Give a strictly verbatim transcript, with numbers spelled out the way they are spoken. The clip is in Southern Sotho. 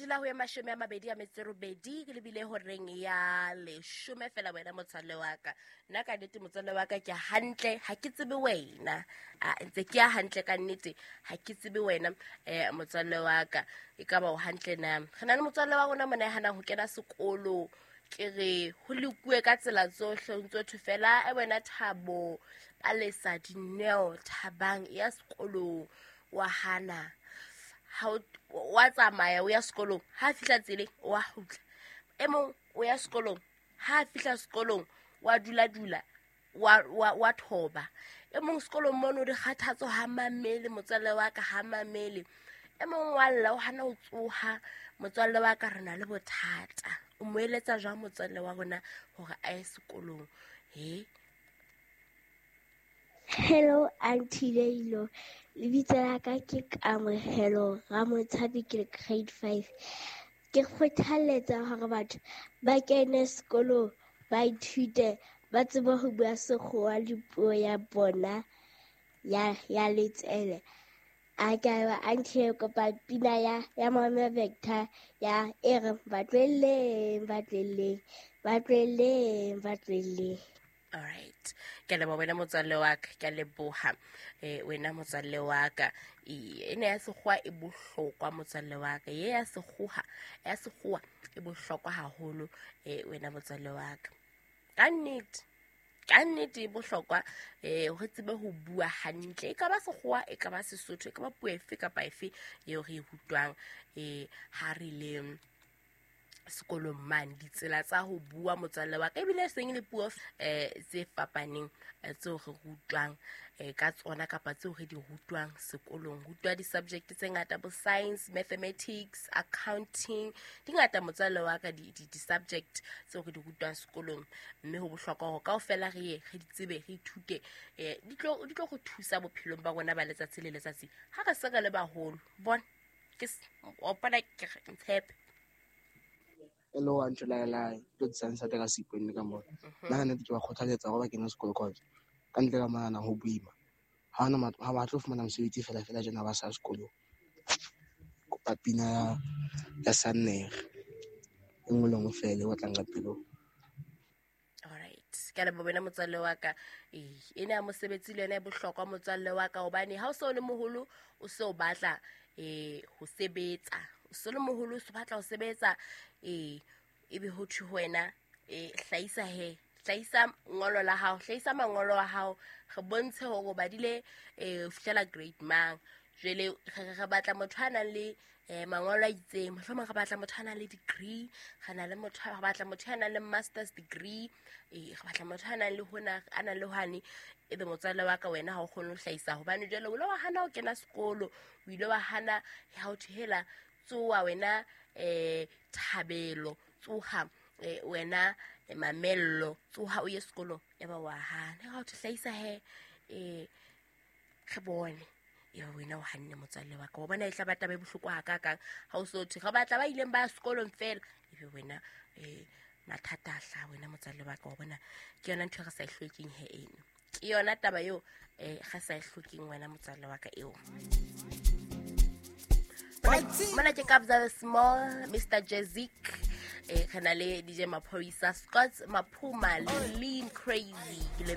Robedi la ho ya mashome a mabedi a metso e robedi, ke lebile horeng ya leshome fela wena motswalle wa ka. Nna ka nnete motswalle wa ka ke hantle, ha ke tsebe wena. A ntse ke ya hantle ka nnete, ha ke tsebe wena eh motswalle wa ka. E ka ba o hantle na? Re na le motswalle wa rona mona ya hanang ho kena sekolo. Ke re ho lekuwe ka tsela tsohle, o ntso thwe fela e wena Thabo, Palesa, Dineo, Thabang ya sekolong, wa hana. Ha o wa tsamaya o ya sekolong, ha fihla tseleng wa kgutla. E mong o ya sekolong, ha fihla sekolong wa dula dula wa wa wa thoba. E mong sekolong mono dikgathatso ha mamele motswalle wa ka, ha mamele. E mong wa lla o hana ho tsoha motswalle wa ka, re na le bothata. O mo eletsa jwang motswalle wa rona hore a ye sekolong? He? Hello Auntie Leilo, lebitso la ka ke Kamohelo Ramotshabi, ke le grade five. Ke kgothaletsa hore batho ba kene sekolo, ba ithute, ba tsebe ho bua sekgowa le puo ya bona ya ya letswele. A ke a Auntie, kopa pina ya ya Mama Vector ya e reng ba tlohelleng, ba tlohelleng, ba tlohelleng, ba tlohelleng. All right. Ke a leboha wena motswalle wa ka, ke a leboha eh wena motswalle wa ka. E ena ya sekgowa e bohlokwa motswalle wa ka. Ye ya sekgowa, ya sekgowa e bohlokwa haholo eh wena motswalle wa ka. Ka nnete, ka nnete e bohlokwa eh re tsebe ho bua hantle. E ka ba sekgowa, e ka ba Sesotho, e ka ba puo efe kapa efe eo re e rutwang eh ha re le sekolong mane. Ditsela tsa ho bua motswalle wa ka, ebile seng le puo eh tse fapaneng tseo re rutwang eh ka tsona kapa tseo re di rutwang sekolong. Rutwa di-subject tse ngata, bo science, mathematics, accounting, di ngata motswalle wa ka di, di, di-subject tseo re di rutwang sekolong. Mme ho bohlokwa hore kaofela re ye re di tsebe, re ithute, eh di tlo, di tlo re thusa bophelong ba rona ba letsatsi le letsatsi ha re se re le baholo. Bona ke o bona ke ntshepe. Hello Auntie Laila, ke tlo tsa ka seipone ka mona. Nna ka nnete ke ba kgothaletsa hore ba kene sekolo cause ka ntle ka monana ho boima. Ha hona ha ba tlo fumana mosebetsi fela fela tjena ba sa sekolong. Kopa pina ya ya Sannere e nngwe le nngwe fela e otlang ka pelong. Alright, ke a leboha wena motswalle wa ka. Eh, ena ya mosebetsi le yona e bohlokwa motswalle wa ka, hobane ha o se o le moholo o se o batla eh ho sebetsa. O se le moholo o se batla ho sebetsa, eh ebe ho thwe ho wena eh hlahisa he, hlahisa ngolo la hao, hlahisa mangolo a hao, re bontshe hore o badile eh ho fihlela grade mang. Jwale re re batla motho a nang le eh mangolo a itseng, mohlomong re batla motho a nang le degree, re na le motho, re batla motho a nang le master's degree, eh re batla motho a nang le hona, a nang le hwane. Ebe motswalle wa ka wena ha o kgone ho hlahisa, hobane jwale o ile wa hana ho kena sekolo, o ile wa hana ha ho thwe hela tsoha wena eh Thabelo, tsoha eh wena Mamello, tsoha o ye sekolong, ya ba wa hana. Ha o hlahisa he eh re bone ebe wena o hanne motswalle wa ka. Wa bona e tla ba taba e bohloko hakakang ha o so thwe re batla ba ileng ba sekolong fela, ebe wena eh mathata a hlaha wena motswalle wa ka. Wa bona ke yona ntho e re sa e hlokeng he eno, ke yona taba eo eh re sa e hlokeng wena motswalle wa ka eo. Mona ke Kabza Small, Mister Jazik, eh re na le D J Maphorisa, Scott Maphuma, Lean Crazy, le